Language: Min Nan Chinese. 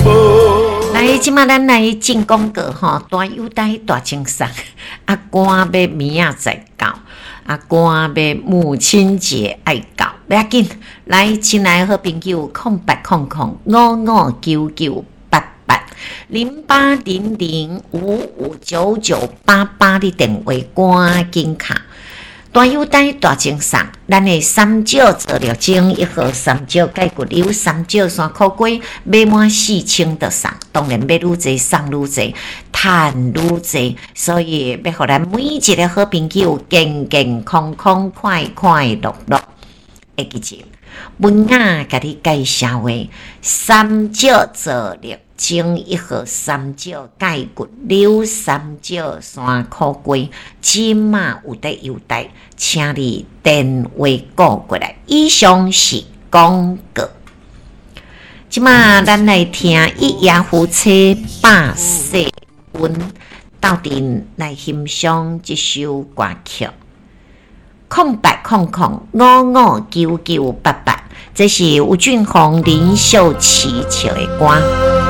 無。來，這馬咱來進廣告吼，大優待大贈送，啊，趕欲明仔載到，啊，趕欲母親節愛到，欲緊，來，親愛好朋友，0800559988，0800559988，你電話趕緊敲。大優待大贈送，咱的三招做了精一號三招解骨瘤，三招山苦瓜買滿4000就送，當然買愈濟送愈濟，趁愈濟，所以欲予咱每一个好朋友健健康康、快快樂樂。會記住，文雅共你介紹的三招做了精一號三招解骨瘤，三招山苦瓜，這馬有得優待，請你電話撥過來。以上是廣告。這馬咱來聽一夜夫妻百世恩，鬥陣來欣賞這首歌曲。0800559988，這是吳俊宏、林秀琪唱的歌。